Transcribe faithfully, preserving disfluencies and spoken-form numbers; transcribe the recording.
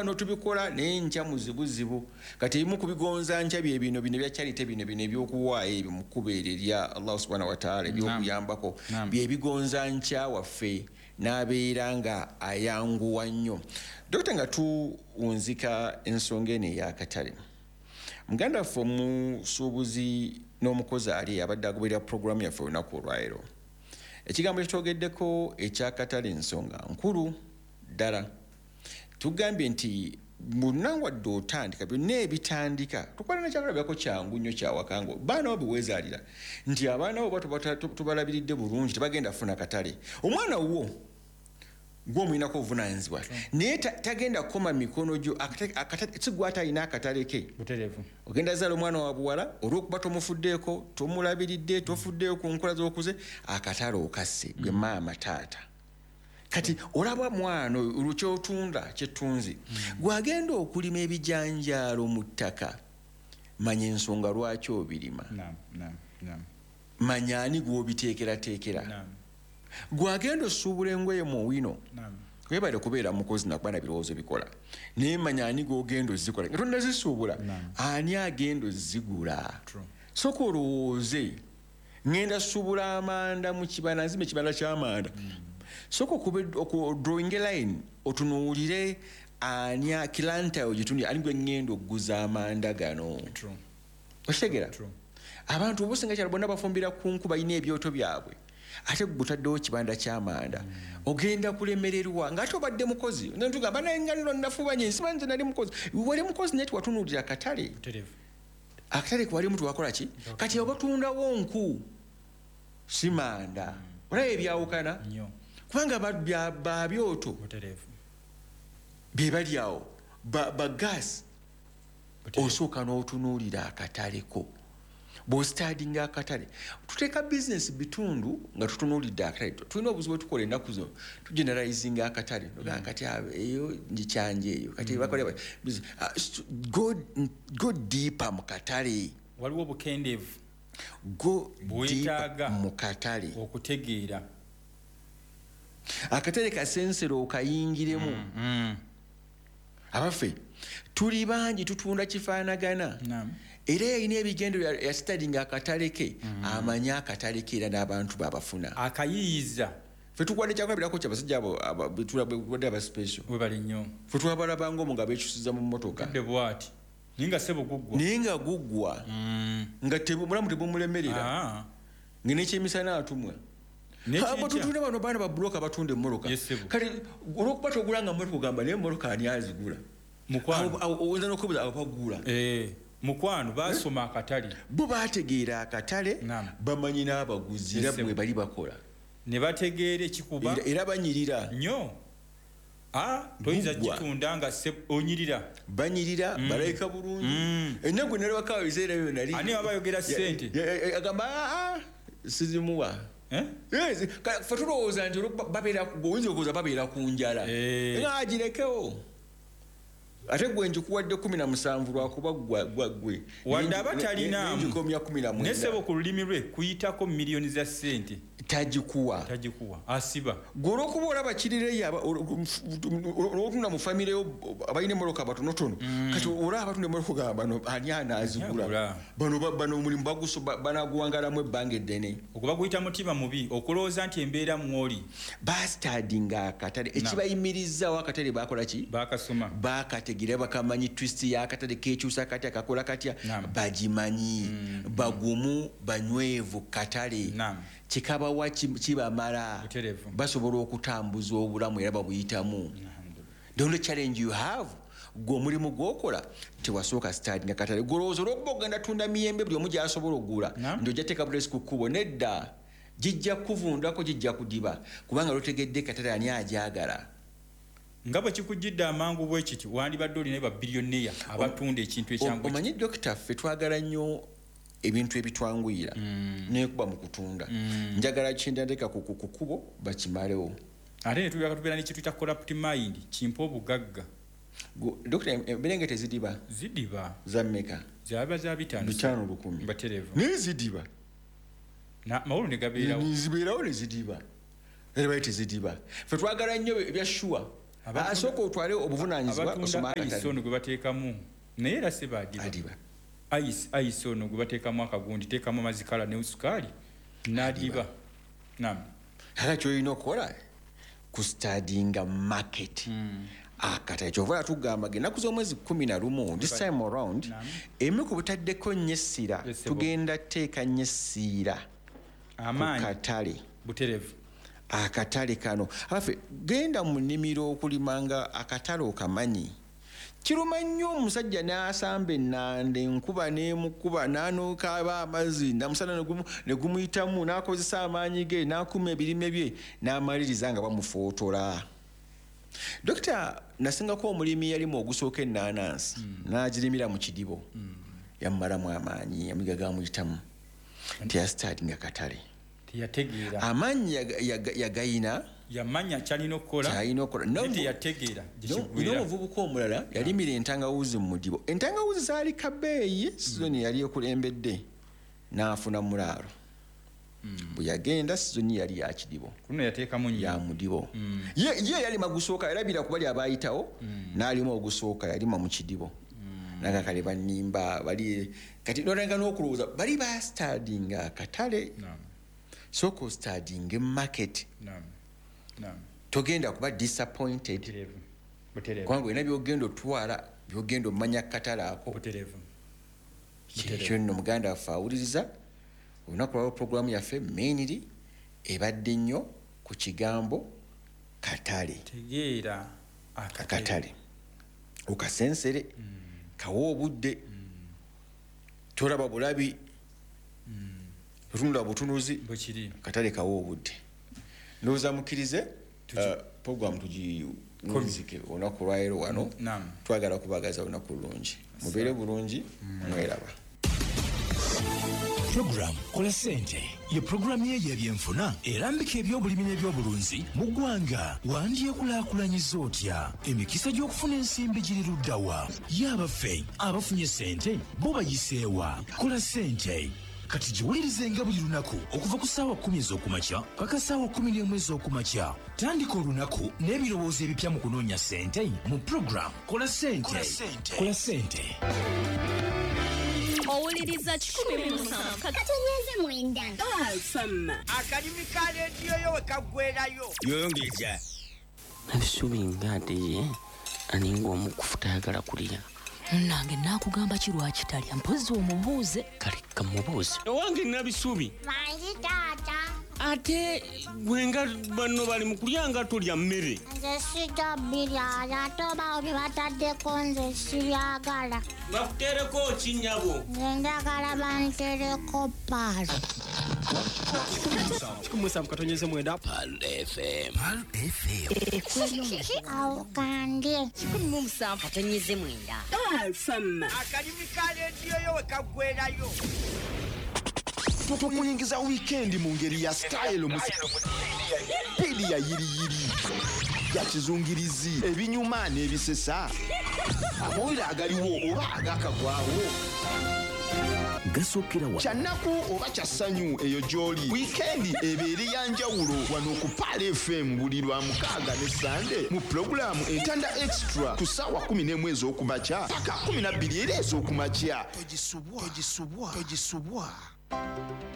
Notubikola naye nkya muzibuzibu. Kati ebimu ku bigonza nkya bye bino bino ebya charity, bino bino ebyokuwaayo ebyo mu kkubo eryo erya Allah subhanahu wataala, ebyokuyambako, bye bigonza nkya waffe n'abeera nga ayanguwa nnyo. Dokita, nga tuwunzika ensonga eno ey'akatale, muganda waffe omusuubuzi n'omukozi ali abadde agoberera puroguramu yaffe olunaku olwaleero, ekigambo kyetwogeddeko ekyakatale ensonga nkulu ddala. Tugambye nti bonna wadde otandika, byonna ebitandika, tukwala nekyakulabirako kyangu nnyo kyawakanga baana bo beweezaalira, nti abaana bo oba tubalabiridde bulungi, tebagenda kufuna katale. Omwana wo gwomuyinako obuvunanyizibwa, naye tagenda kukoma mikono gyo, si gwe atalina akatale ke. Ogenda zaala omwana wa buwala, olwokuba tomufuddeeko, tomulabiridde, tofuddeeko ku nkola z'okuze, akatale okasse gwe maama taata. Kati olaba mwana oyo kyotunda kyetunzi, gwagenda okulima ebijanjaalo mu ttaka, manya ensonga lwaki obirima, manya ani gw'obiteekerateekera. Gwagenda osuubula engoye mu wino, webale kubeera mukozi nakuba na birowoozo bikola, naye manya ani gw'ogenda ozikola nga tonnazisuubula, ani agenda ozigula. Sooka olowooze, ŋŋenda suubula amanda mu kibanda, nzimba ekibanda ky'amanda. Sooka drawing a line, otunuulire ani clientele gyetundi, ani gwe ŋŋenda okuguza amanda gano. Okitegeera? Abantu obusinga kyalo bonna bafumbira ku nku, balina ebyoto byabwe, ate gutaddewo kibanda ky'amanda, ogenda kulemererwa ng'ate obadde mukozi. Tugamba naye nga nno nafubanye, nsiba nze nali mukozi. Wali mukozi naye tiwatunuulira akatale. Akatale kewalimu tewakola ki? Kati obatundawo nku si manda. Olaba ebyawukana, kubanga babyoto bye bali awo ba gaasi. Osooka n'otunuulira akataleko. Bw'ostudyinga akatale, tuteeka bizinesi bitundu nga tutunuulidde akatale. Tulina obuzibu bwe tukola ennaku zino, tugeneralizinga akatale. Mm. Kati eyo ngikyanje eyo kati mm. bakola, ah, go, go deeper mu katale. Waliwo obukendeevu. Go deeper mu katale. Okutegeera. Akatale kasensero okayingiremu. mm, mm. Abaffe tuli bangi tutunda kifaanagana, era yalina ebigendo, yastudyinga akatale ke, mm. amanyi akatale ke era n'abantu babafuna. Akayiyiza. Fe tukwadde kyakulabirako kyabasajja abo wadde aba special. Webale nnyo. Fe twabalabanga omwo nga bekyusiza mu mmotoka. Bwati naye nga sebo guggwa. Naye nga guggwa, mm. nga mulamu tebumulemerera, ah. nga nekyemisana atumwa. Tutunda bano baana babuloka batunda emmotoka. Kati olwokuba togulanga mmotoka, ogamba naye emmotoka ani azigula? Oyinza nokubuza abo bagula. Eh, mukwano, basoma akatale. Bo bategeera akatale, bamanyi n'abaguzi, era bwe bali bakola. Ne bategeera ekikuba. Era banyirira. Nnyo. Toyinza gitunda nga onyirira. Banyirira, mm. balabika bulungi. Mm. Ennaku nalabakawo ebiseera byo nali Ani aba ayogera sente? Agamba sizimuwa. Eh? Fe tulowooza nti oyinza okulowooza babeera ku njala, eh. nga agirekewo, ate gwe nkikuwadde kumi na musanvu lwakuba gwe. Wadde aba talinaamu. Nenjikomya kumi na mwenda. Nesebo ku lulimi lwe kuyitako miliyoni za ssente. Tagikuwa. Tagikuwa, asiba. Gwe olwokuba olaba kirireyo, olwotunda mu famire yo abalina emmotoka batonotono, mm. kati olaba abatunda emmotoka gamba bano ani anaazigula? Bano bano omulimu banaguwangalamu ebbanga eddene. Okuba guyita mutima mubi okulowooza nti embeera mwoli. Bastudyinga akatale, ekibayimirizaawo akatale bakola ki? Bakasoma. Bakategeera, bakamanyi twist y'akatale, kekyusa katya, kakola katya, bagimanyi. Mm. Bagumu, banywevu katale, kikabawa kibamala, basobola okutambuza obulamu era babuyitamu. The only challenge you have, gwe omulimu gwokola tewasooka studyinga katale. Golowooza olwokuba ogenda tunda miyembe buli omu gyasobola okugula, nti ojja teeka bulesi ku kkubo. Nedda, gijja kuvundako, gijja kudiba, kubanga lwotegedde katale ani ajagala. Nga bwe kikujjidde amangu bwe kiti, wandibadde olina babillionaire abatunda ekintu ekyangu. Omanyi dokita, ffe twagala nnyo ebintu ebitwanguyira, mm. nekuba mu kutunda mm. njagala kindanteeka ku kkubo bakimalewo. Ate netulaka tubeera nekituyita corrupt mind, kimpa obugagga. Dokita, emberenge tezidiba? Zidiba. Za mmeka? Zaba za bitaano. Bitaano lukumi. Baterevu. Naye zidiba. Mawulu ne gabeerawo. Zibeerawo ne zidiba, era bali tezidiba. Fe twagala nnyo ebya sure. Asooka otwale obuvunaanyizibwa osome akatale. Ono gwe bateekamu naye era si baadiba. Ice ice ono gwe bateekamu akagundi, teekamu amazzi kala ne sukaali n'adiba. Naam. Kale ky'olina okukola kustadinga market. Mm. Akatale kyova tugamba ennaku z'omwezi kumi na lumu this time around emu ku butaddeko nnyo essira, tugenda teeka nnyo essiira amaanyi katale buterevu akatale kano. Abaffe, genda mu nnimiro okulimanga akatale okamanyi. Kiruma nnyo omusajja n'asamba ennanda, enkuba n'emukuba, n'anookaaba amazzi, namusana ne gumuyitamu, n'akozesa amaanyi ge, n'akuma ebirime bye, n'amaliriza nga bamufootola. Dokita, nasingako omulimi yalimu ogusooka ennaanansi, mm. n'agirimira mu kidibo. Mm. Yamumalamu amaanyi, amiga gamuyitamu. Teyasitaatinga katale. Teyategeera. Amaanyi yagayina. Yamanya kyalina okukola. Kyalina okukola. Naye teyategeera gye kiggweera. N'omuvubuka omulala yalimira entangawuzi mu mudibo. Entangawuzi zaali kabeeyi, sizoni yali ekulembedde, n'afuna mulaalo. Bwe yagenda sizoni yali ya kidibo. Kuno yateekamu nnyo. Ya mudibo. Ye ye yalima gusooka, yalabira ku bali abaayitawo, n'alima ogusooka, yalima mu kidibo. N'akakale bannimba, bali kati n'olanga n'okulowooza, bali baasitadinga akatale. Sooka ositadinge market. Togenda kuba disappointed. Kubanga olina by'ogenda otwala, by'ogenda omanya katale ako. Kyekyo nno muganda waffe awuliriza. Olunaku lwa programu yaffe mainly ebadde nnyo ku kigambo katale. Tegeera akatale. Okasensere, kawa obudde, tolaba bulabi, otunula butunuzi, katale kawa obudde. Ndowooza mukkirize programu tugiwunzike olunaku lwaleero wano. Twagala kubagaza olunaku lulungi. Mubeere bulungi, mweraba. Program Kola Ssente ye programu ye y'ebyenfuna erambika ebyobulimi n'ebyobulunzi mu ggwanga. Wandyekulaakulanyiza otya? Emikisa gy'okufuna ensimbi giri ludda wa? Ye abaffe abafunye ssente bo bayiseewa? Kola Ssente kati giwulirizenga buli lunaku okuva ku ssaawa kkumi ez'okumakya paka ssaawa kkumi n'emu ez'okumakya. Tandika olunaku n'ebirowoozo ebipya mu kunoonya ssente mu program Kola Ssente. Kola Ssente. Owuliriza kikumi musanvu katonnyeze mwenda. Akalimi ka leediyo yo we kaggweerayo. Yongeza. Nabisubi nga ye aninga omukufu tayagala kulya. Nange naakugamba ki lwaki talya, mpozzi omubuuze. Kale kamubuuze. Owange Nabisubi. Mangi taata. Ate gwe nga banno bali mu kulya nga tolya mmere. Nze sijja birya, ate oba bye bataddeko nze sibyagala. Bakuteereko ki nnyabo? Nze njagala bantereko Pearl. Kikumi musanvu katonyeze mwenda. Pearl F M. Pearl F M. Awo kandye. Kikumi musanvu katonyeze mwenda. Pearl F M. Akalimi ka leediyo yo we kaggweerayo. Tukuyingiza weekend mu ngeri ya style mu pili ya yiriyiri ya kizungirizi ebinyuma n'ebisesa amawulire agaliwo oba agakagwawo gasokera wa kyannaku oba kya ssanyu eyo gy'oli. Weekend ebeere ya njawulo wano ku Pearl F M buli lwa mukaaga ne Sande mu pulogulaamu Entanda Extra ku ssaawa kkumi n'emu ez'okumakya paka kkumi na bbiri era ez'okumakya. Togisubwa, togisubwa, togisubwa.